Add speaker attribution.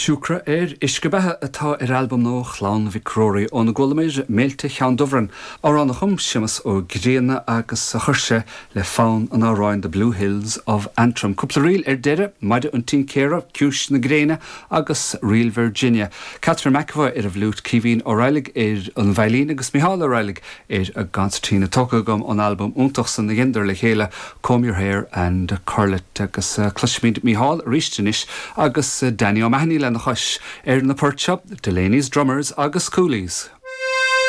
Speaker 1: Siúcra ar Uisce Beatha atá ar albam nua Chlann Mhic Ruairí óna gcualamar Méilte Cheann Dubhrann, amhrán a chum Séamus Ó Grianna agus a chuir sé le fonn an amhráin The Blue Hills of Antrim. Cúpla ríl ar deireadh, Maide an Tincéara, Ciumhais na Gréine agus Ríl Virginia. Catherine McEvoy ar an bhfliúit, Caoimhín Ó Raghallaigh ar an veidhlín agus Mícheál Ó Raghallaigh ar an gconsairtín tógtha agam ón albam iontach san a dheineadar le chéile, Comb Your Hair and Curl It. Agus cloisfimid Mícheál arís anois agus Danny O'Mahony lena chois ar na poirt seo, Delaney's Drummers agus Coolies.